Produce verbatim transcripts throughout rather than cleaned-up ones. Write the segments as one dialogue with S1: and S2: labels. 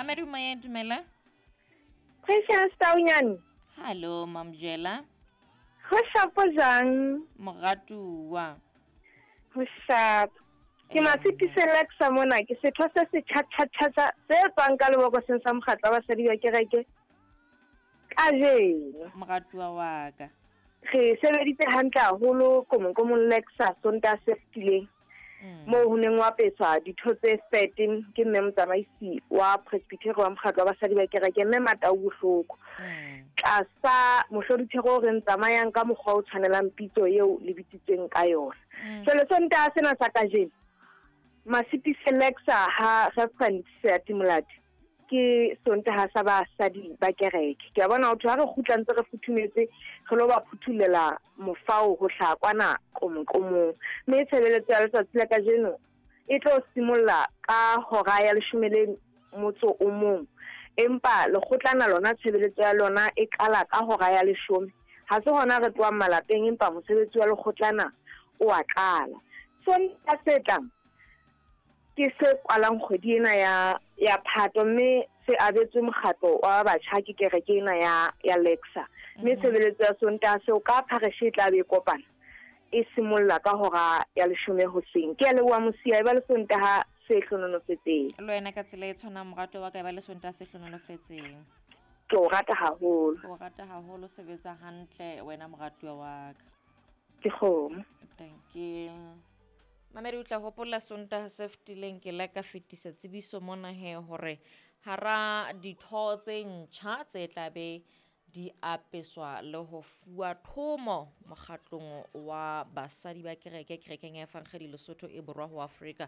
S1: Mamedi moyeng, dumela.
S2: Precious Taunyane.
S1: Hallo Mamjela.
S2: Ho shapo jang?
S1: Moratuwa.
S2: Ho shapo. Ke Masitise Lexa mona, ke setho se se tjha-tjha-tjha se tswang ka lebokoseng sa mokgatlo wa basadi ba kereke kajeno.
S1: Moratuwa wa ka.
S2: Re sebeditse hantle haholo komong Lexa Sontaha se fetileng. Moo ho neng wa apeswa ditho tse thirteen ke mme motsamaisi wa Presbyterian wa mokgatlo wa basadi ba kereke mme Matau Bohloko. Tlasa mohlodithero o re tsamayang ka mokgwa o tshwanelang pitso eo le bitsitsweng ka yona. Jwale Sontaha sena sa kajeno Masitise Lexa ha Reverend Seatimolati ke Sontaha sa basadi ba kereke. Ke a bona ho thwe ha re kgutla ntse re futhumetse re lo ba phuthulela mofao ho hlaha kwana qomoqomong. Mme tshebeletso ya letsatsi la kajeno e tlo simolla ka hora ya leshome le motso o mong. Empa lekgotlana lona tshebeletso ya lona e qala ka hora ya leshome. Ha se hona re tlohang malapeng empa mosebetsi wa lekgotlana o a qala. Sontaha se tlang ke se kwalang kgwedi ena ya ya Phato mme se abetswe mokgatlo wa batjha ke kereke ena ya ya Lexa. Mme tshebeletso ya Sontaha seo ka phareshe e tla be e kopana e simolla ka hora ya leshome hoseng. Ke a leboha Mosia, e ba le Sontaha se hlohonolofetseng.
S1: Le wena ka tsela e tshwanang morato wa ka, e ba le Sontaha se hlohonolofetseng.
S2: Ke o rata haholo.
S1: Ke o rata haholo, sebetsa hantle wena moratuwa wa ka.
S2: Ke kgomo.
S1: Thank you. Mamedi o tla hopola Sontaha se fetileng ke la ka fetisa tsebiso mona he hore hara ditho tse ntjha tse tla be di apeswa le ho fuwa thomo mokgatlong wa basadi ba kereke kerekeng ya Evangeli Lesotho e Borwa ho Afrika.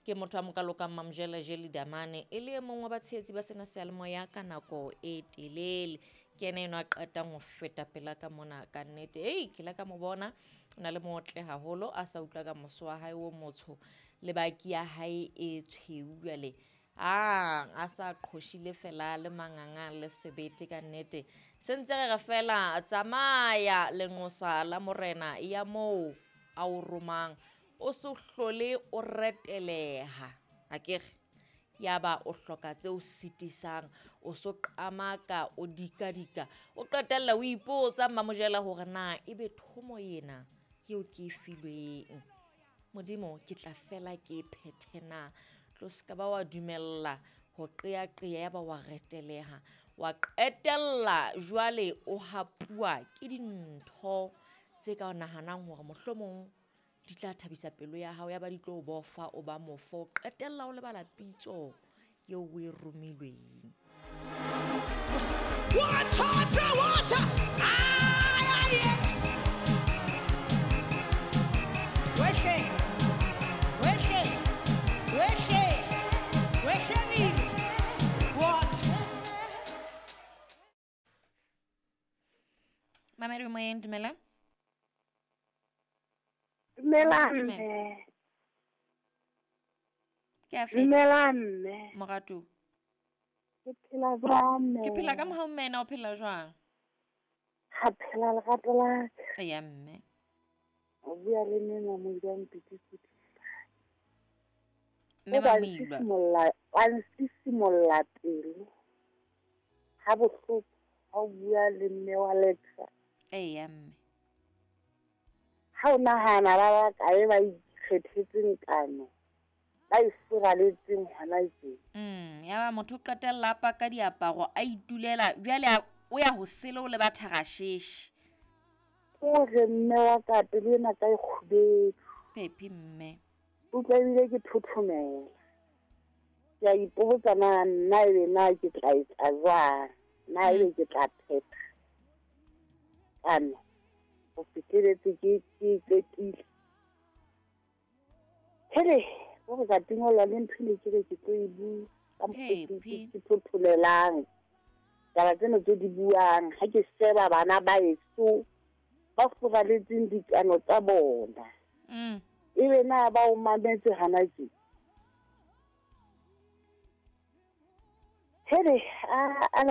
S1: Ke motho a mokalo ka Mamjela Jeli Damane e le e mong wa batshehetsi ba sena seyalemoya ka nako e telele. Ke yena enwa a qetang ho feta pela ka mona ka nnete. Ei, ke la ka mo bona o na le motle haholo a sa utlwa ka moso wa hae o motsho le baki ya hae e tshweu jwale. Ah, a sa qhoshile fela le manganga le sebete ka nnete. Se ntse re re fela tsamaya lenqosa la morena ya moo a o romang. O se hlole o reteleha. Akere yaba o hloka tse o sitisang, o so qamaka, o dikadika, o qetella o ipotsa Mmamojela hore na ebe thomo ena eo ke e filweng. Modimo ke tla fela ke e phethe na. Tlo ska ba wa dumella ho qeaqea ya ba wa reteleha. Wa qetella jwale o hapuwa ke dintho tse ka o nahanang hore mohlomong di tla thabisa pelo ya hao ya ba di tlo o bofa o ba mofo, qetella o lebala pitso eo o e romilweng. Mamedi moyeng, dumela.
S2: Dumela mme.
S1: Ke a feta.
S2: Dumela mme.
S1: Moratu.
S2: Ke phela jwang mme?
S1: Ke phela ka mohau mme, na o phela jwang?
S2: Ha phela lerato la ka.
S1: Eya mme.
S2: O bua le mme Mamoilwa Mpiti.
S1: Mme Mamoilwa.
S2: Wa nsisimolla pelo. Ha bohloko ha o bua le mme wa Lexa.
S1: Eya mme.
S2: Ha o nahana ba ba kae ba ikgethetseng kano, ba e furaletseng hona tje.
S1: Mm, ya ba motho o qetella a paka diaparo a itulela jwale o ya ho sele o le ba tharasheshe.
S2: O re mme wa ka pelo ena ka e kgubedu.
S1: Phephi mme.
S2: Utlwa ebile ke thothomela. Ke a ipotsa na nna ebe na ke tla etsa jwang, na ebe ke tla phetha. Kano o fihleletse ke ke qetile. Hele, o re ka tingolwa le ntho ne ke re ke tlo e bua ka mokgwa ke thotholelang. Taba tsena tse di buang ha ke sheba bana ba eso ba furaletseng dikano tsa bona.
S1: Mm.
S2: Ebe na ba o mametse hana tje. Hele, a a